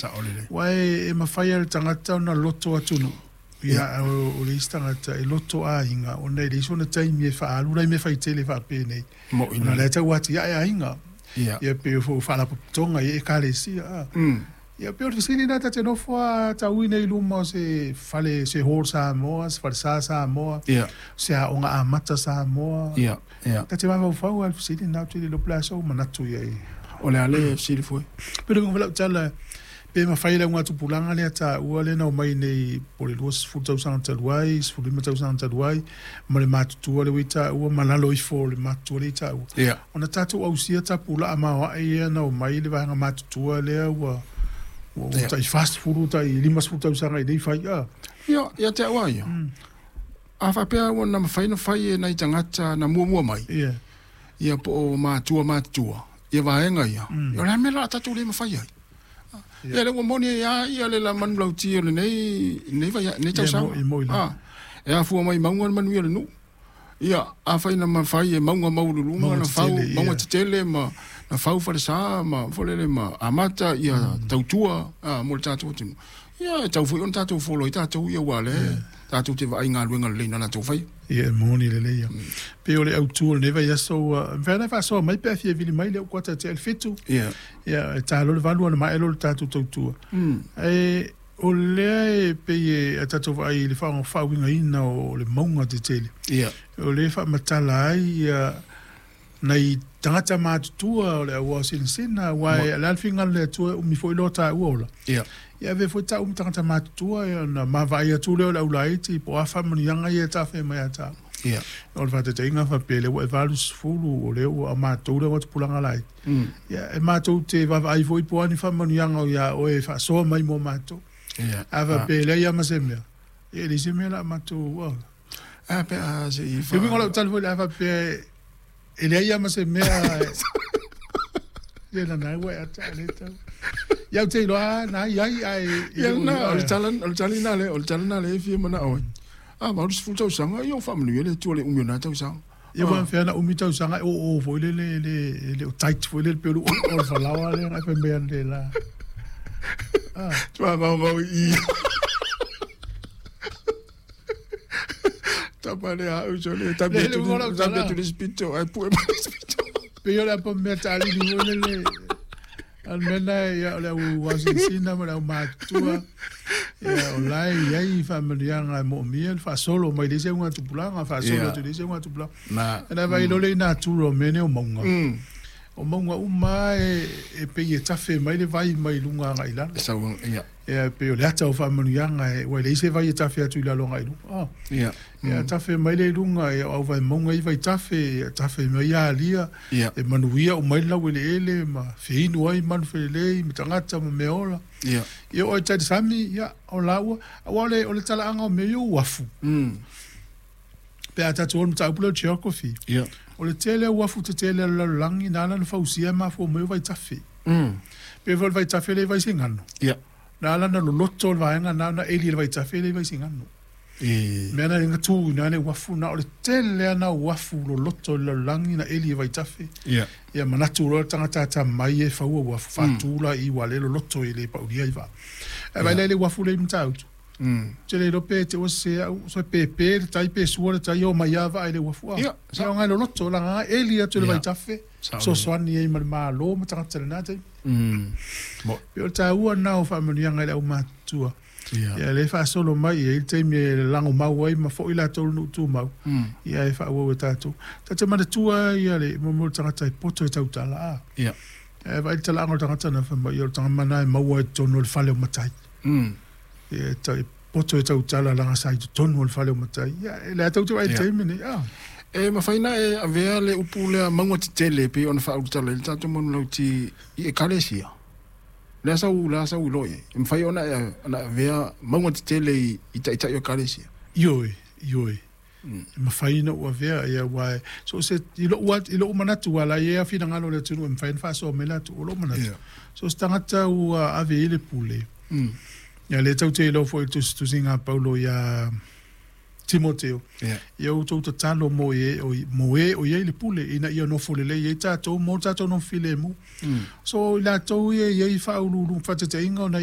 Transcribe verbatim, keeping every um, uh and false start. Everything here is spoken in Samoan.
Saʻolelei. Ua e, e mafai e le tagata ona loto atunuu. Ia, o, o le isi tagata e loto aiga, ona e leai sona taimi e faaalu lai mea faitele faapenei. Moʻi Ona lelei. lea tau atiae aiga. Ia. Ia pei o faalapotopotoga i ekalesia. A. Mm. Ia pei o le fesili lena ta te nofo a tauina i luma o se fale, se hall Samoa, se falesa Samoa, Ia. se aoga amata Samoa. Ia. Ia. Ta te mafaufau lava i le fesili lena, ou te le iloa po o le a sou manatu i ai. O le a le fesili foi? Pei o le uiga foi o lau tala, pe mafai e le augatupulaga lea taua lea na omai nei po o le luasefulu tausaga talu ai, sefululima tausaga talu ai, ma le matutua lea ua i taua, ma lalo ifo o le matutua lea i taua. Ia. Ona tatou ausia tapulaa maoae ia na omai le vaega matutua lea ua ua ua Ia. tai fasefulu, tai limasefulu tausaga i nei fai. A. Ia, ia te au a ia. A faapea ua na mafai ona fai e nai tagata na muamua mai. Ia. Ia po o matua matutua. Ia vaega ia. Ia o le a mea la tatou le mafai ai. Ia le ua moni ai lava ia le la manulauti o lenei lenei vai lenei tausaga. Ia, moi- moi lava. Ah, e afua mai mauga le manuia o le nuu. Ia, afai na mafai e mauga maualuluga Mauga na fau, tetele, ia. mauga tetele ma na fau falesa ma folele ma amata ia tautua ah, mo le tatou atunuu. Ia, e tau foi ona tatou folo ai tatou ia ua le tatou te vaai galuega lelei na latou faia. Ia, e moni lelei ia. Pei o le autu o lenei vaiaso ua mafai ona faasoa mai pe a fia vili mai le au kuata tea i le fitu. Ia. Ia, e tā loa le valu ona maea loa le tatou tautua. Mm. Ae o lea e pei e a tatou vaai i le faaaoga faauigaina o le mauga tetele. Ia. O lea e faamatala ai ia nai tagata matutua o le auao sinasina, aua e o le a le finagalo o le Atua e umi foi loa taua ola. Ia. Ia avea foi taua ma tagata matutua, ia ona maavaai atu lea o le aulaiti po o a faamanuiaga ia e tafea mai ia taua. Ia. O le faataitaiga faapea lea ua e valusefulu, o lea ua matou le augatupulaga laiti. Mm. Ia, e matou te vaavaai foi po o a ni faamanuiaga o ia oe e faasoa mai mo matou. Ia. A faapea e leai lava ma se mea, ia e leai se mea la matou. Ah. A pe a se i E uiga o lau tala foi le a faapea e leai lava ma se mea. Ia na ua e ata le tau. Ia ou te iloa na i ai ae Ia na, o le tala, o le tala lena le, o le tala lena le e fia manao ai. A valusefulu tausaga, ia o faamanuia le Atua i le umi o na tausaga. Ia ua mafai ona umi tausaga e oo foi le le le le o tight foi le pei o le o le falaoa lea na fai mai ana le la. Ah. Tua maumau i. Tapa le au so le tabi Le- le atu uiga o lau le tabi tala. atu le spito ai pue mai le spito. Pei o le apa mea taalili foi le le a le mea lena ia o le au asinasina ma le au matutua. Ia o la e i ai faamanuiaga e moomia le faasolo mai le isi augatupulaga, faasolo Ia. atu i le isi augatupulaga. Na. Ona vaai loa lea i natura o mea nei o mauga. Mm. O mauga uma e, e pei e tafe mai le vai mai luga agai i lalo. Sau ia. Ia pei o le ata o faamanuiaga e, ua e leai se vai e tafe atu i lalo agai i luga. Ah. Ia. Ia tafe mai le i luga, ia o au vaimauga i vaitafe, ia tafe mai ia alia, Ia. e manuia umai le laueleele ma feinu ai manufelelei ma tagata ma mea ola. Ia. Ia o ai talisami, ia o laua, aua o le, o le talaaga o mea ia uafu. Mm. Pe a tatou o le mataupu lea o geography. Ia. O le tele o uafu tetele a le lalolagi na ala ona fausia e mafua mai o vaitafe. Mm. Pe foi o le vaitafe lea i Vaisigano. Ia. Na ala ona loloto le vaega na ona eli e le vaitafe lea i Vaisigano. E. Mea na lenga tu ina le uafu na o le tele ana uafu loloto i le lalolagi na eli e vaitafe. Ia. Ia manatu loa le tagata ata mai e faua uafu faatu la i ua le loloto e le paulia i vaa. Ae vaai la i le uafu lea i Matautu. Mm. Te le iloa pe te ua sese au, so pepe le tai pe sua le tai o mai lava ai le uafu a. Ia, Ia o ngai loloto la nga eli atu le Ia. vaitafe. Sao. Sosoani ai ma le malo ma tagata lena taimi. Mm. Mo. Pei o le taua lena o faamanuiaga i le aumatutua. Ia. Ia le faasolo mai i ai le taimi e lagomau ai ma foi latou le nuu tumau. Mm. Ia e faaauau e tatou. Ta te manatua ia le mo le tagata e poto e tautala a. Ia. E vaai le talaaga o le tagata na fai mai, ia o le tagata mana e maua i totonu o le fale o matai. Mm. Ia e ta- e poto e tautala laga sa i totonu o le fale o matai. Ia e le a tau te vaai i le Ia. taimi nei. Ah. E mafai na e avea le upu lea mauga tetele pei ona faaulutala i le tatou manulauti i ekalesia. Lea sau lea sau iloa i ai. E mafai ona e ona avea mauga tetele i, i taitai o ekalesia. Ioe, ioe. Mm. E mafai ona ou avea ia aua e so se i lou at- i lou manatu ua la i ai a finagalo o le atunuu e mafai ona faasoa mai latou o lou manatu. Ia. So se tagata ua ave i le pule. Mm. Ia le tau te iloa foi i le tusitusiga a Paulo ia Timoteo Ia. Ia outou tatalo mo e o mo e o iai le pule ina ia nofo lelei ai tatou mo tatou nofo filemu. So i latou ia e i ai faauluuluga faateteiga ona ia